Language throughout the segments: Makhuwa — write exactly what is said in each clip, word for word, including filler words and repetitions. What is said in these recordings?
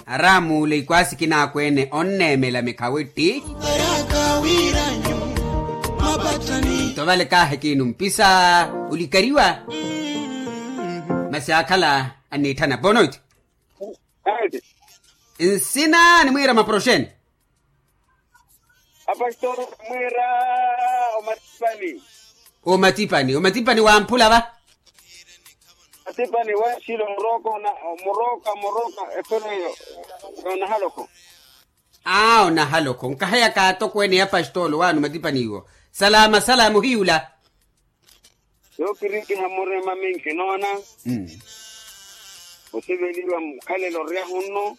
Araamuule ikwaasi kinaakweene onneemela mikhawitti. Nto vale kaahi kiinumpisa olikariwa. Masi aakhala anniitthana bonoiti. Nsina nimwiira maporoxeni. Apastori mwiira omatipani. Omatipani omatipani wamphula va. Matipani wanxilo muroka murooka murooka efereyo. Onahalokho. Aa onahalokho nkaheyaka atokweene ya pastolo waano matipani iwo. Salama salama ohiyula. Yookirikiha murima minki noona. Osiveliwa mukhalelo oryahu nno.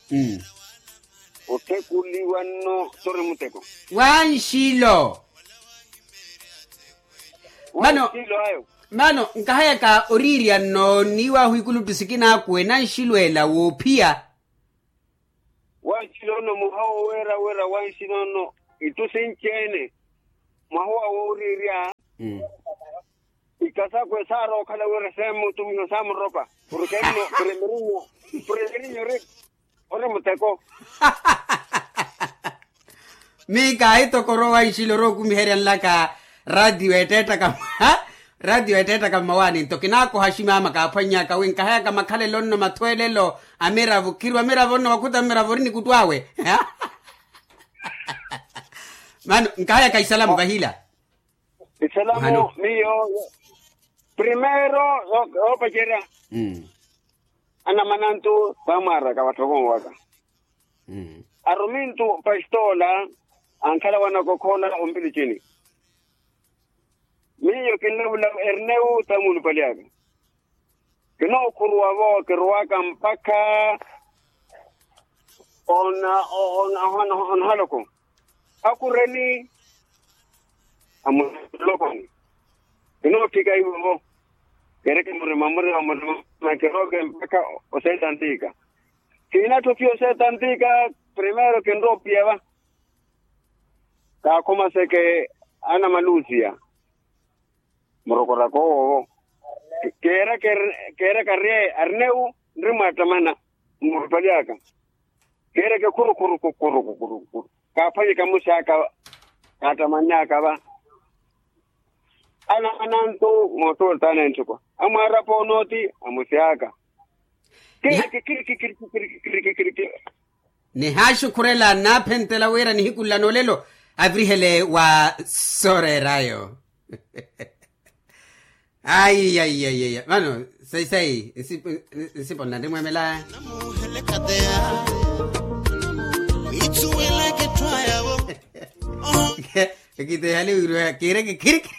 Otthekuliwa nno sori muteko. Wanxilo. Mano. Mano nkahayaka oriirya nno niiwahu ikuluttu sikinaakwe nanxilo ela woophiya. Wanxilo nno mwaha woweera wira wanxilo nno. Ittu sinci-ene mwaha owa wooriirya. Ikasakwe saarookhala wira seemutumiha saamuropa. Purke nno primerinyo primerinyo ori muteko. Miika ahitokoro wanxilo orookumiherya nlaka. Ratio etteettaka ratio etteettaka mmawaani nto kinaakoha aximama kaaphwannyaka wi nkahayaka makhalelo nno mathweelelo amiravo khirwa miravo nno wakhuta mmiravo ori nikuttu awe. Mano nkahayaka isalamu vahila. Isalamu miyo primero yoopacerya. Anamanantu saamwaaraka vatthoko waka. Arumintu pastoola ankhala wanakokhola ompilicini. Miyo kinlavula erneu tamuulupali aka. Kinookhuruwa-vo kiruwaka mpakha ona ona ona ona haloko. Akhureni amulokoni. Kinootthika ivo-vo kereke murima murima murima. Kirooke mpakha oseeta ntiika. Kiinatthi ophiya oseeta ntiika. Primero kinrowa ophiya va. Kaakhomaseke anamalusiya. Murokoraka owo keera keera karye arinewu nri mwaattamana mmurupali aka. Keereke khurukhuru khurukhuru kaaphwanyeka mmusi aka. Kaattamannyaka va. Ana anantu moottoltaana entthukwa amwaarapa onooti amusi aka. Kiriki kiriki kiriki kiriki kiriki kiriki. Nihaaxukhurela nnaaphenttela wira nihiku nla noolelo avirihele wa sooreerayo. Ayi ayi ayi ayi vano sayi sayi nsipo nna nrimwemela. Ekitehali wiiriwa kiireke khirikiri.